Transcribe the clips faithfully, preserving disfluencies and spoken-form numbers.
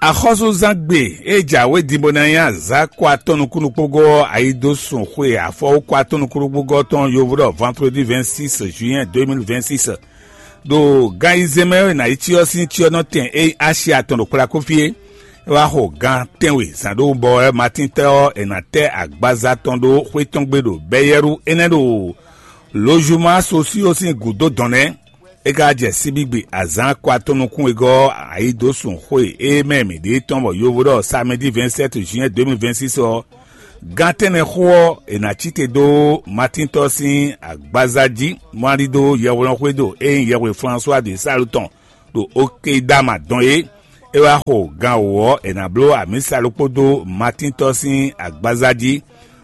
Axɔ́súzángbe e jǎwe din bó ná nyí azǎn kɔ atɔn nukúnnukpógɔ́ ɔ́, ayi dó sun xwe afɔwú kɔ atɔn nukúnnukpógɔ́ tɔn yovo ɖɔ vendredi vingt-six juin deux mille vingt-six. Ɖo gan ayizɛ́n mɛ ɔ́, è nǎ yi cyɔ sín cyɔ́nɔtɛn e nyí Asia tɔn ɖo Kplakófí é. É wá xo gan tɛ́nwe zǎn ɖó bɔ wɛ Matín tɛ́ ɔ́, è nǎ tɛ́ agbaza tɔn ɖó xwé tɔn gbe ɖo Bɛyɛ́ru énɛ́ ɖo Lozuma Sosío sín gǔdo dɔn nɛ́. É ka jɛ síbígbe azǎn kɔ atɔn nukún wegɔ́ ɔ́, ayi dó sun xwe e mɛ mǐ ɖe tɔn bɔ yovo ɖɔ samɛdi vingt-sept juin deux mille vingt-six ɔ́, gán tɛ́nnɛ xó ɔ́, è nǎ cí te dó Matíntɔ́ sín agbaza jí, mɔ ali dó yɛhweɖɔxwédo e nyí yɛhwe Flasuwa de Salu tɔn ɖo Okedama dɔn é. É wá xo gan wǒ ɔ́, è nǎ bló amǐsa ɖokpó dó Matíntɔ́ sín agbaza jí,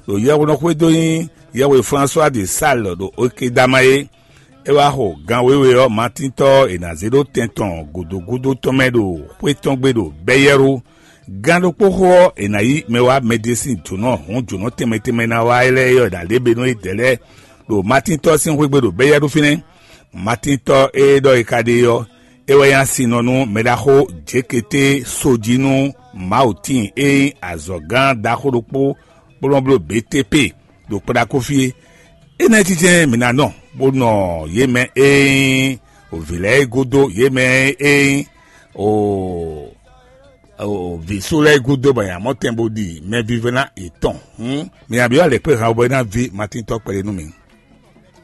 ɖo yɛhweɖɔxwédo nyí yɛhwe Flasuwa de Salu ɖo Okedama é. É wá xo gan wěwe ɔ́, Matíntɔ́ ɔ́, è nǎ zé ɖó tɛn tɔn gǔdo gúdo tɔn mɛ ɖo xwé tɔn gbe ɖo Bɛyɛ́ru. Gán ɖokpó xó ɔ́, è nǎ yí mɛ wá mɛɖé sín jǒnɔ hǔn jǒnɔ tɛnmɛ tɛnmɛ ná wá lɛ́ɛ ɔ́, è nǎ lě benu é dɛ̌ lɛ́ɛ ɖo Matíntɔ́ sín xwé gbe ɖo Bɛyɛ́ru fínɛ́. Matíntɔ́ e ɖɔ è ka ɖe ɔ́, é wɛ nyí asinɔ nú mɛɖaxó Jěketé Sojínú Mawutíin e nyí azɔ̌gán ɖaxó ɖokpó kplɔ́nbló Betépe ɖo Kplakófí é. Énɛ́ jijɛ mǐ ná nɔ, bó nɔ yě mɛ e nyí vǐ lɛ́ɛ gúdo, yě mɛ e nyí vǐ sú lɛ́ɛ gúdo bɔ yě ná mɔ tɛn bó ɖi mɛvívɛ́ná yětɔn. Hǔn mi ná byɔ́ alɛ̌kpéhan bɔ é ná ví Matíntɔ́ kpɛɖé nú mi.